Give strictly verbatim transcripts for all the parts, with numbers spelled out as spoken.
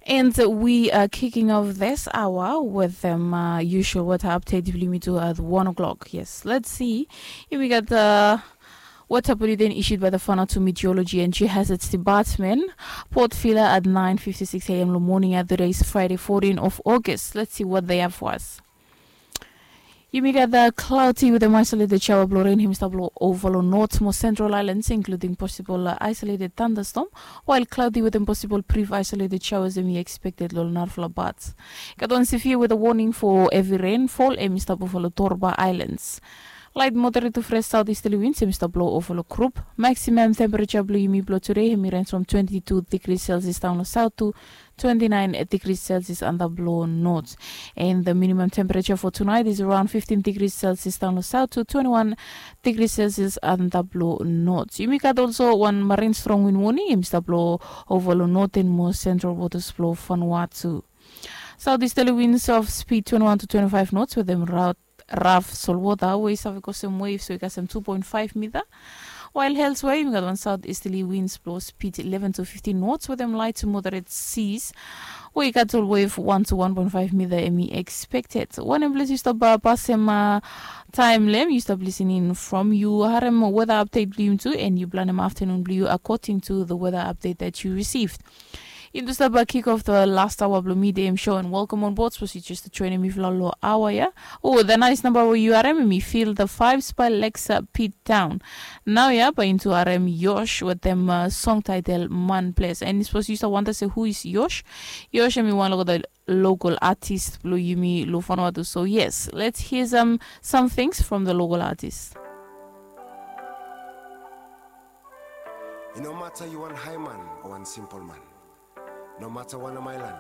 And we are kicking off this hour with the uh, usual weather update blo yumi tu at one o'clock. Yes, let's see. Yumi gat the weather bulletin issued by the Vanuatu Meteorology and Geohazards Department, Port Vila at nine fifty-six a m lo morning. Today is Friday, fourteen of August. Let's see what they have for us. Yumi gat the cloudy with an isolated shower blo rain hemi stap blo ova lo north mo central islands, including possible uh, isolated thunderstorm, while cloudy with an possible brief isolated showers hemi expected lo narafala parts. Gat wan severe weather warning for heavy rainfall hemi stap ova lo Torba Islands. Light moderate to fresh southeasterly winds hemi stap blo ova lo group. Maximum temperature blo yumi blo today hemi range from twenty-two degrees Celsius down lo south to twenty-nine degrees Celsius antap lo north. And the minimum temperature for tonight is around fifteen degrees Celsius down lo south to twenty-one degrees Celsius antap lo north. Yumi gat also wan marine strong wind warning hemi stap blo ova lo northern mo central waters blo Vanuatu. Southeasterly winds of speed twenty-one to twenty-five knots with them route raf solwota we i save kosem waves we i kasem two point five mita. While elsewhere yumi gat wan southeasterly winds blo speed eleven to fifteen knots with them light to moderate seas we i gat ol wave one to one point five mita hemi expected. Wanem ples yu stap uh, pasem uh, taem lo hem yu stap listening from, yu harem weather update blo yumi tu and yu planem afternoon blo yu according to the weather update that you received. Yumi tu stap uh, kick off the last hour blo midday show and welcome on board. Suppose yu just joining mi fo lo hour ya. Oh, the nice number we yu harem, mi Feel the Vibes by Lexa Pete Town. Nao ya bae yumi tu harem Yosh with them uh, song title Man Bless. And suppose yu stap wonder se who is Yosh? Yosh hemi wan lo the local artist blo yumi lo Vanuatu. So yes, let's hear some some things from the local artist. I no mata yu wan haeman o wan simpol man, no mata wanem aelan,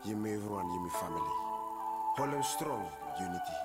yumi evriwan yumi famili. Holem strong yuniti.